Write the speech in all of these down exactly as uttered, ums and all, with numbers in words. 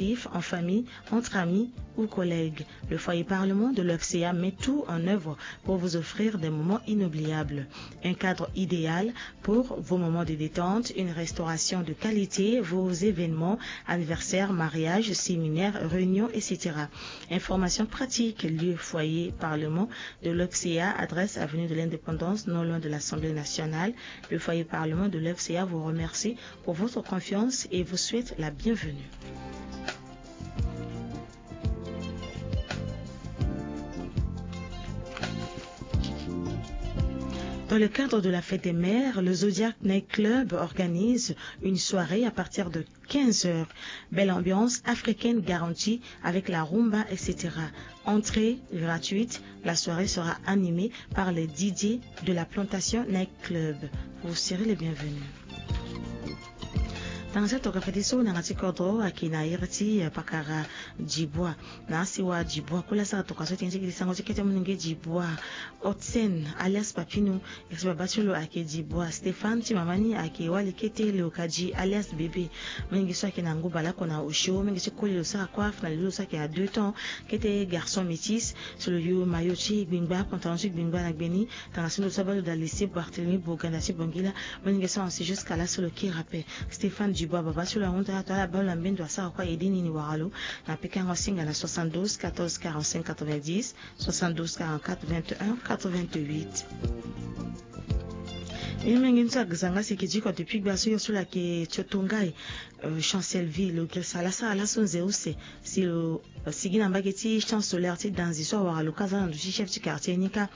en famille, entre amis ou collègues. Le foyer parlement de l'O F C A met tout en œuvre pour vous offrir des moments inoubliables. Un cadre idéal pour vos moments de détente, une restauration de qualité, vos événements, anniversaires, mariages, séminaires, réunions, et cetera. Informations pratiques, lieu foyer parlement de l'O F C A, adresse avenue de l'Indépendance, non loin de l'Assemblée nationale. Le foyer parlement de l'O F C A vous remercie pour votre confiance et vous souhaite la bienvenue. Dans le cadre de la fête des mères, le Zodiac Night Club organise une soirée à partir de quinze heures. Belle ambiance africaine garantie avec la rumba, et cetera. Entrée gratuite, la soirée sera animée par les D J de la Plantation Night Club. Vous serez les bienvenus. Tanga so atoka fade so na yanga ti kodro ayeke na iri ti, eh, pakara Dibua. Na asewa Dibua kue la asara toka so ti tene ti gi ti sango ti kete molenge Dibua. Hotsen alias Papino, iri ti baba ti lo ayeke Dibua. Stéphane ti mama ni ayeke Wali Kete Leokadi alias Bébé. Molenge so ayeke na ngu baleoko na osio, molenge ti koli lo sara kue afa na lelo lo so ayeke na deux temps. Kete garçon métis so lo yo maillot ti gbengba, pantalon ti gbengba na gbe ni. Tanga so lo so abaa lo daa lycée Barthélemy Boganda ti Bangila. Molenge so avancer jusqu'à là so lo kiri ape. Stéphane Dubois, baba so lo ahunda ato ala baa lo na mbendo asara kue aide ni ni wara lo. Na pikango asinga na soixante-douze quatorze quarante-cinq quatre-vingt-dix, soixante-douze quarante-quatre vingt et un quatre-vingt-huit. Mbi mingi ni so agzanga si ayeke diko depuis gba so yo so lo ayeke tio tongai, euh, Chancel Ville, lo girisa ala sara laso nze use si lo sigi na mbage ti Champ Solaire ti Danzi so awara lo ka aza na ndo ti chef ti quartier ni ka.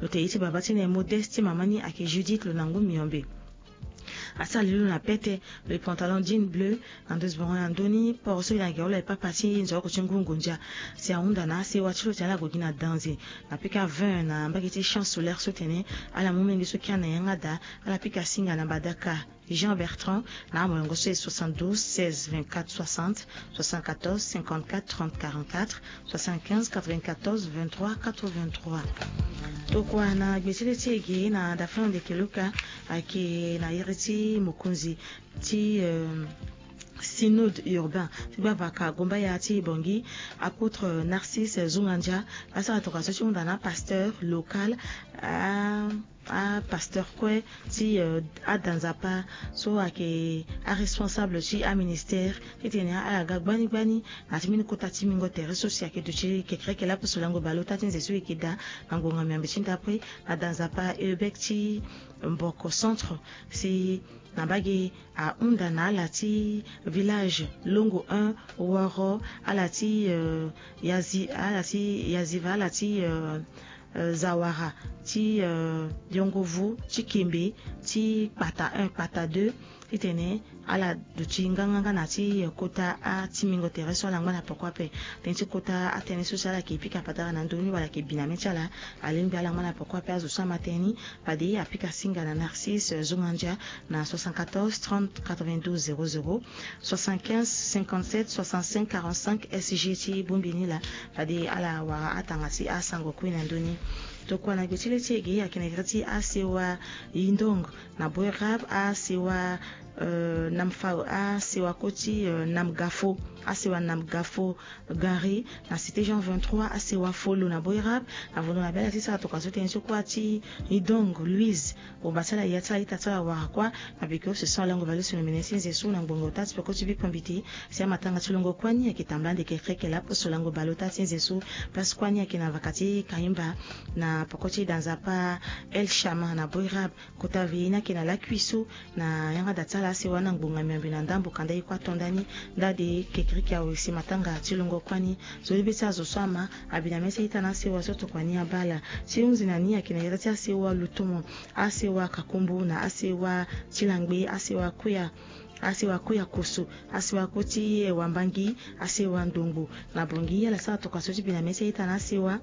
Lo tene ye ti baba ti ni aye Modeste, ti mama ni ayeke Judith, lo na ngu miombe. Asara lili lo na pete, lo ye pantalon jean bleu, na ndo ti bongo na ndo ni poro so e na gere lo aye papa ti nzoroko ti ngu ngondia. Si ahunda na asewa ti lo ti ala gue gi na Danzi na pika vingt na mbage ti Champ Solaire so tene ala mu molenge so kiri na yanga daa, ala pika singa na Badaka Jean Bertrand, na amolongo so e soixante-douze seize vingt-quatre soixante, soixante-quatorze cinquante-quatre trente quarante-quatre, soixante-quinze quatre-vingt-quatorze vingt-trois quatre-vingt-trois. Tokua na gbe ti le ti e ge na dafa na ndeke Luka ayeke na iri ti mokonzi ti, euh, synode urbain ti gbavaka Gombaya ti Bangui, apôtre Narcisse Zungandia, asara tokua so ti hunda na apasteur local, a apasteur kue ti, euh, ada Nzapa so ayeke aresponsable ti aministère ti tene ala ga gbani gbani na ti mbeni kota ti mingo tere so si ayeke duti kekereke laposo lango baleota ti nze so e yeke daa na ngbonga miombe ti ndapre, ada Nzapa Eubek ti Mboko Centre, si na mbage ahunda na ala ti village Longo un, Woro, ala ti, euh, Yazi, ala ti Yaziva, ala ti, euh, euh, Zawara, ti, euh, Yongovu, ti Kembe, ti Kpata un, Kpata deux, ti tene ala duti nganganga na ti, euh, kota atimingo tere so ala ngba na peko ape. Tënë ti kota atënë so si ala yeke pika patara na ndö ni wala ayeke bi na mê ti ala, alingbi ala ngba na peko ape. Azo so ama tënë ni, fade apika singa na Narcisse, euh, Zungandia na soixante-quatorze trente quatre-vingt-douze zéro zéro, soixante-quinze cinquante-sept soixante-cinq quarante-cinq S G ti bongbi ni laa. Fade ala wara atanga ti asango kue na ndö ni. Tokua na gbe ti le ti e ge ayeke na iri ti asewa Yindong na Boerab, asewa, euh, Namfa, asewa kue ti, euh, Namgafo, asewa Namgafo Gari, na cité Jean vingt-trois, asewa Folo na Boerab. Avondo na bela ti sara tokua so tënë so kue ti Yindong Louise. Bongba ti ala, ya ti ala, ita ti ala wara kua. Na beke use so alango valeuse na mene ti nze so na ngbonga ota ti peko ti bikpambiti. Si amatanga ti longo kua ni ayeke tambula ndeke kreke laposo lango baleota ti nze so. Place kua ni ayeke na vaka ti Kaimba na peko ti da Nzapa El Shama na Boerab. Kota veillée ni ayeke na lakui so na yanga da ti ala asewa na ngbonga miombe na ndambo kanda ye kue ato nda ni. Nda de kekereke awe si matanga ti longo kua ni. Zo libe ti azo so ama abi na mê ti a-ita na asewa so tokua ni abaa ala. Ti hunzi na ni ayeke na iri ti asewa Lutumo, asewa Kakumbu na asewa ti Langbe, asewa Kuya, asewa Kuya Koso, asewa kue ti, eh, Wambangi, asewa Ndongbo na Bangui. Ala sara tokua so ti bi na mê ti a-ita na asewa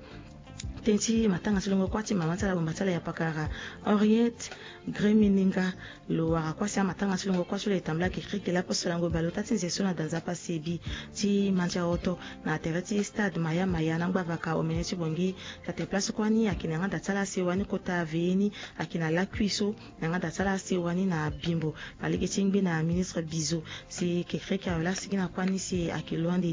Tënë ti matanga ti longo kuâ ti mama ti ala bomba ti ala ya pakara Henriette Gremininga. Lo wara kuâ si amatanga ti longo kuâ so lo etambula kekreke lapo so lango bale ota ti nze so na da nzapa sebi ti mandia oto na tere ti stade maya maya na ngbavaka omene ti bongi. Tate place kuâ ni ayeke na yanga da ti ala asewa ni kota veye ni ayeke na lakui so na yanga da ti ala asewa ni na bimbo. Na lege ti ngbe na ministre bizo si kekreke awe la sigi na kuâ ni si ayeke loin de